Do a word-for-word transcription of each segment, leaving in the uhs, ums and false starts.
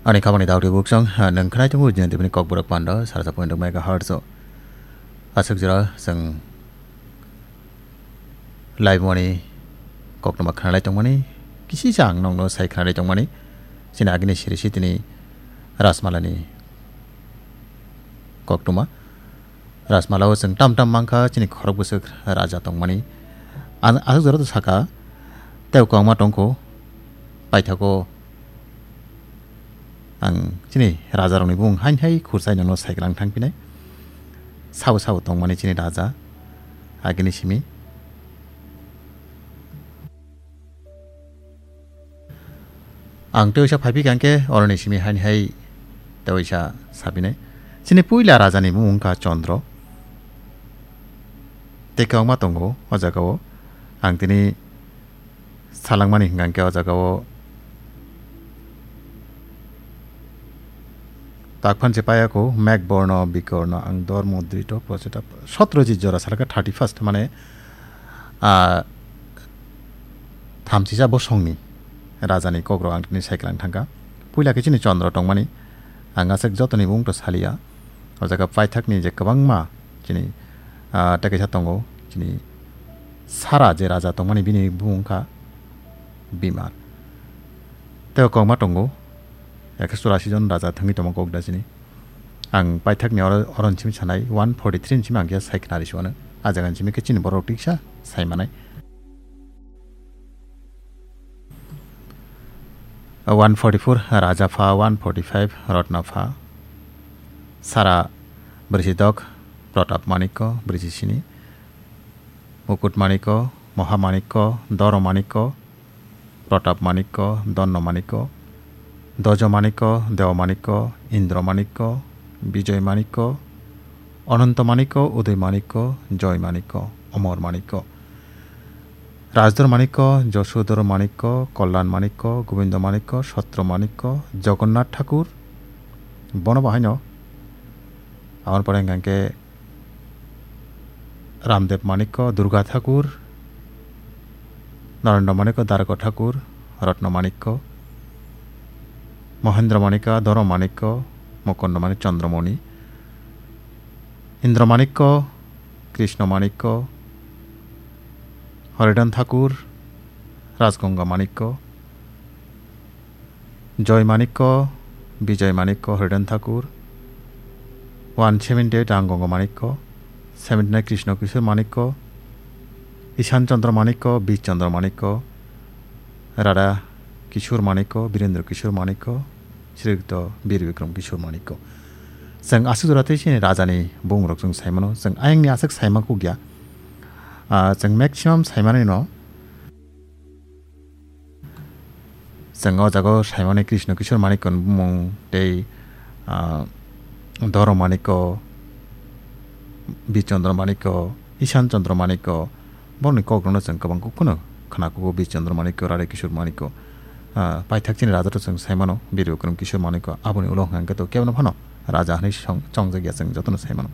Ani khabangni daktwi buksong, ha, nwng khnai tongo Jayantipini Kokborok Panda, sarsa point megahertz o. Aswk jora chwng live mani koktwma khnalai tongmani, kisisa ang nokno sai khnalai tongmani. Chini agini siri si tini Rajmalani koktwma. Rajmalao chwng tam tam mankha, chini khorok bwswk raja tongmani. Ang aswk jora to sakha, tei kwbangma tongkho, paithago ang chini rajarokni bumung hain hai khursai nono saiklang thangphinai. Sabo sabo tongmani chini raja, agini simi. Ang tei waisa phaiphikha hwnkhe oroni simi haini hai tei waisa sapinai. Chini puila rajani bumung wngkha Chandra. Tei kwbangma tongo o jagao. Ang tini salangmani hwnkha hwnkhe o jagao tak phansi payako, Megh Borno, Bikorno, ang Dormo, Drito, Prochita, sotro ji jora salaka thirty first, mane, ah, thamsisa bosongni rajani kokrok ang tini saiklang thangkha. Puila khe chini Chandra tongmani, ang aswk jotoni bumung to saliya. O jaga paithakni je kwbangma chini, ah, tei kaisa tongo, chini Sara je raja tongmani bini bumung wngkha Bimar. Tei kwbangma tongo, ekso churasi jon raja thangwi tongma kok da chini. Ang paithakni oro, oro ni simi sanai one forty three ni simi ang khe sai khnari se uano. A jaga ni simi khe chini borok tiksa sai manai. One forty four Raja pha, one forty five Ratna pha, Sara Brisidok, Pratap Manikko, Brisisini, Mukut Manikko, Moha Manikko, Doro Manikko, Pratap Manikko, Donno Manikko, Dojo Manikko, Dewa Manikko, Indro Manikko, Bijoy Manikko, Ononto Manikko, Udoy Manikko, Joy Manikko, Omor Manikko, Rajdor Manikko, Josodor Manikko, Kollan Manikko, Gobindo Manikko, Sotro Manikko, Jogonnath Thakur, bono bo haino. Aboni pore hwnkha khe Ramdev Manikko, Durga Thakur, Narendra Manikko, Dargo Thakur, Ratna Manikko, Mohendra Manikko, Doro Manikko, Mukundo Manik, Chandramoni, Indra Manikko, Krishna Manikko, Horidhan Thakur, Rajgonga Manikko, Joy Manikko, Bijoy Manikko, Horidhan Thakur, one seventy eight Rangongo Manikko, seventy nine Krishna Kishore Manikko, Ishan Chandra Manikko, Bir Chandra Manikko, Radha Kishore Manikko, Birendra Kishore Manikko, Srikto Bir Bikram Kishore Manikko. Chwng aswk jora tei chini rajani bumung rok chwng sai mano. Chwng ayangni aswk sai ma kuk ya. Ah, chwng maximum sai manwi no. Chwng o jaga o saimani Krishna Kishore Manikko ni bumung tei, ah, Doro Manikko, Bir Chandra Manikko, Ishan Chandra Manikko, borokni kokrokno chwng kwbang kuk phano khna kugo, Bir Chandra Manikko, Radha Kishore Manikko, ah, paithak chini raja rok chwng saimano, Bir Bikram Kishore Manikko, aboni ulo hwnkha hwnkhe to kebono phano raja hwnwi song-, chongjak ya chwng jotono saimano.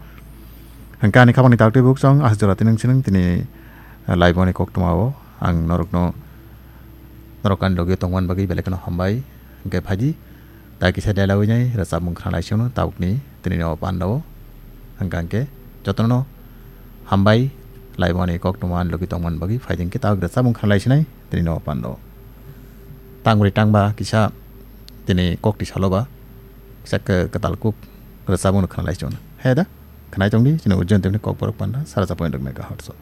Hwnkhe ani khabangni taktwi buk chwng aswk jora tini nwng sinung tini, ah, laiboni koktwma o ang norokno Norok ani logi tongmani bagwi belai kheno hambai. Hwnkhe phaidi, tai kisa delawi nai rwchapmung khna lai sino tabukni tini o panda o. Hwnkha hwnkhe jotono hambai, laiboni koktwma ani logi tongmani bagwi. Phaidi hwnkhe tabuk rwchapmung khna lai sinai tini o panda o. Tangri tangba kisa tini kokti salo ba kisa kwtal kuk rwchapmung khna lai sino. He da, khnai tongdi chini Ujjain tebni Kokborok panda sara cha point rok megahertz o.